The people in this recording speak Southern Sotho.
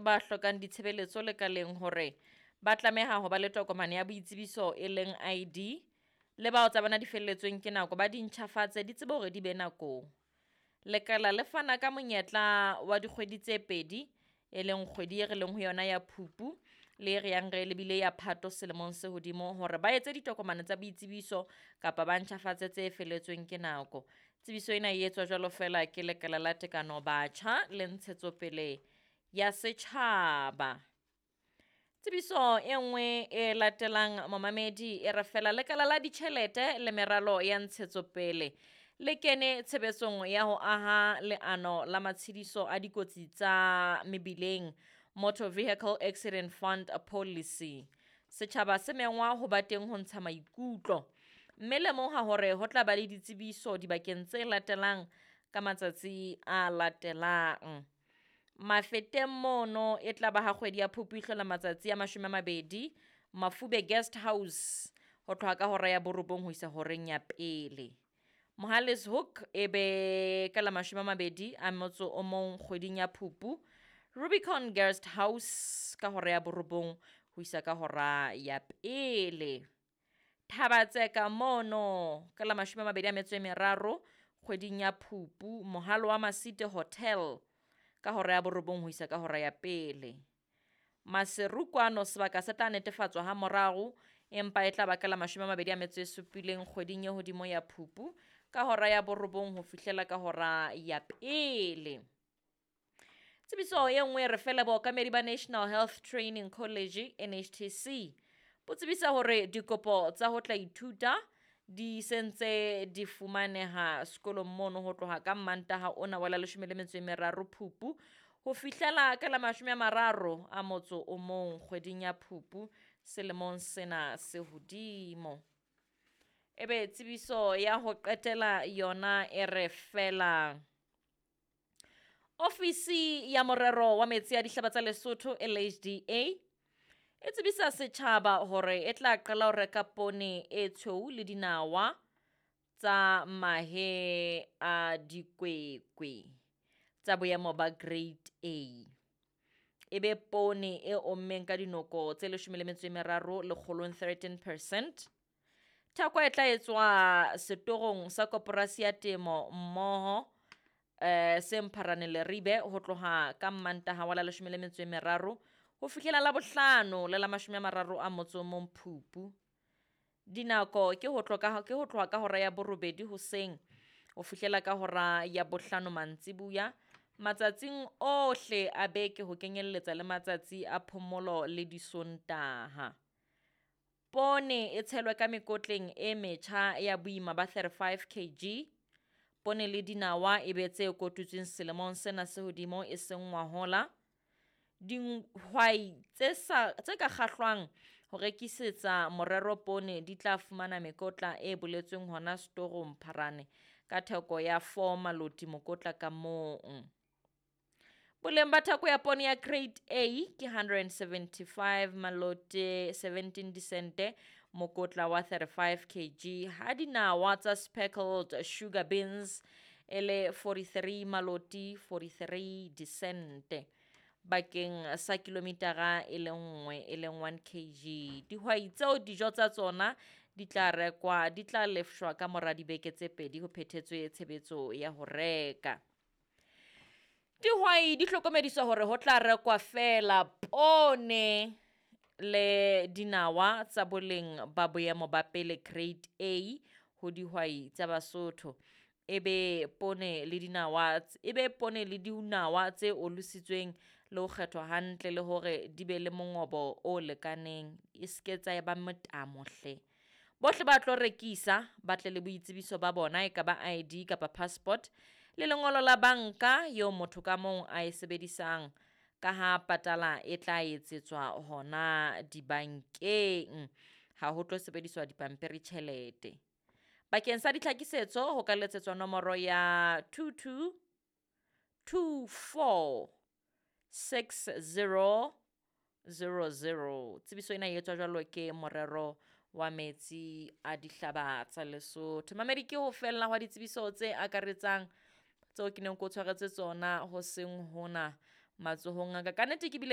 ba hlokang ditshebeletso lekaleng hore ba tlameha ho ba le tokomane ya boitsebiso e leng ID, le bao tsa bona di felletsweng ke nako ba di ntjhafatse di tsebe hore di be nakong. Lekala le fana ka monyetla wa dikgwedi tse pedi, e leng kgwedi e re leng ho yona ya Phupu le e re yang re lebile ya Phato selemong se hodimo hore ba etse ditokomane tsa boitsebiso kapa ba ntjhafatse tse felletsweng ke nako. Tsebiso ena e etswa jwalo feela ke lekala la tekano batjha le ntshetsopele ya setjhaba. Tsebiso e nngwe e latelang momamedi e re fela lekala la ditjhelete le meralo ya ntshetsopele le kene tshebetsong ya ho aha leano la matshediso a dikotsi tsa mebileng, Motor Vehicle Accident Fund Policy. Setjhaba se mengwa ho ba teng ho ntsha maikutlo, mme lemoha hore ho tla ba le ditsebiso dibakeng tse latelang ka matsatsi a latelang. Mafeteng mono e tla ba ha kgwedi ya Phupu e hlola matsatsi a 20, Mafube Guest House ho tloha ka hora ya 9 ho isa horeng ya 1. Mohale's Hoek e be ka la 21 kgweding ya Phupu, Rubicon Guest House ka hora ya 9 ho isa ka hora ya 1. Thabatseka mono ka la 23 kgweding ya Phupu, Mohalo wa Masite Hotel ka hora ya 9 ho isa ka hora ya 1. Maseru kwano sebaka se tla netefatswa ha morao, empa e tla ba ka la 27 kgweding e hodimo ya Phupu ka hora ya 9 ho fihlela ka hora ya 1. Tsebiso e nngwe re fela bookamedi ba National Health Training College NHTC bo tsebisa hore dikopo tsa ho tla ithuta di sentse di fumaneha sekolong mono ho tloha ka Mantaha ona wa la 13 Phupu ho fihlela ka la 31 kgweding ya Phupu selemong sena se hodimo. Ebe tsebiso ya ho qetela yona e re fela Ofisi ya morero wa metsi a dihlaba tsa Lesotho LHDA e tsebisa setjhaba hore e tla qala ho reka poone e tshweu le dinawa tsa mahe a dikwekwe tsa boemo ba grade A. E be poone e ommeng ka dinoko tse 13 lekgolong 13%. Theko e tla etswa setorong sa koporasi ya temo mmoho se Mpharane Leribe ho tloha ka Mantaha wa la 13 ho fihlela la bohlano le la 31 Phupu. Dinako ke ho tloha ka hora ya 8 hoseng ho fihlela ka hora ya 5 mantsibuya matsatsing ohle a beke ho kenyelletsa le matsatsi a phomolo le disontaha. Poone e tshelwe ka mekotleng e metjha ya boima ba 35 kg. Poone le dinawa e be tse kotutsweng selemong sena se hodimo e seng ngwahola. Dihwai tse ka kgahlwang ho rekisetsa morero poone di tla fumana mekotla e boletsweng hona setorong Mpharane ka theko ya 4 maloti mokotla ka mong. Boleng ba theko ya poone ya grade A ke 175 maloti 17 disente mokotla wa 35 kg, ha dinawa tsa speckled sugar beans e le 43 maloti 43 disente bakeng sa kilometara e le nngwe e leng 1 kg. Dihwai tseo dijo tsa tsona di tla rekwa di tla lefshwa ka mora dibeke tse 2 ho phethetswe tshebetso ya ho reka. Dihwai di hlokomediswa hore ho tla rekwa feela poone le dinawa tsa boleng ba boemo ba pele grade A ho dihwai tsa Basotho. Ebe poone le dinawa tse olositsweng le ho kgethwa hantle le hore di be le mongobo o lekaneng, e seke tsa eba motamo hle. Bohle ba tlo rekisa ba tle le boitsebiso ba bona, e ka ba ID kapa passport le lengolo la banka eo motho ka mong a e sebedisang, ka ha patala e tla etsetswa hona dibankeng, ha ho tlo sebediswa dipampiri tjhelete. Bakeng sa ditlhakisetso ho ka letsetswa nomoro ya 22 24 60 00. Tsebiso ena e etswa jwalo ke morero wa metsi a dihlaba tsa Lesotho. Mamedi, ke ho fella hwa ditsebiso tse akaretsang tseo ke neng ke o tshwaretse tsona ho seng hona matsohong a ka. Ka nnete ke bile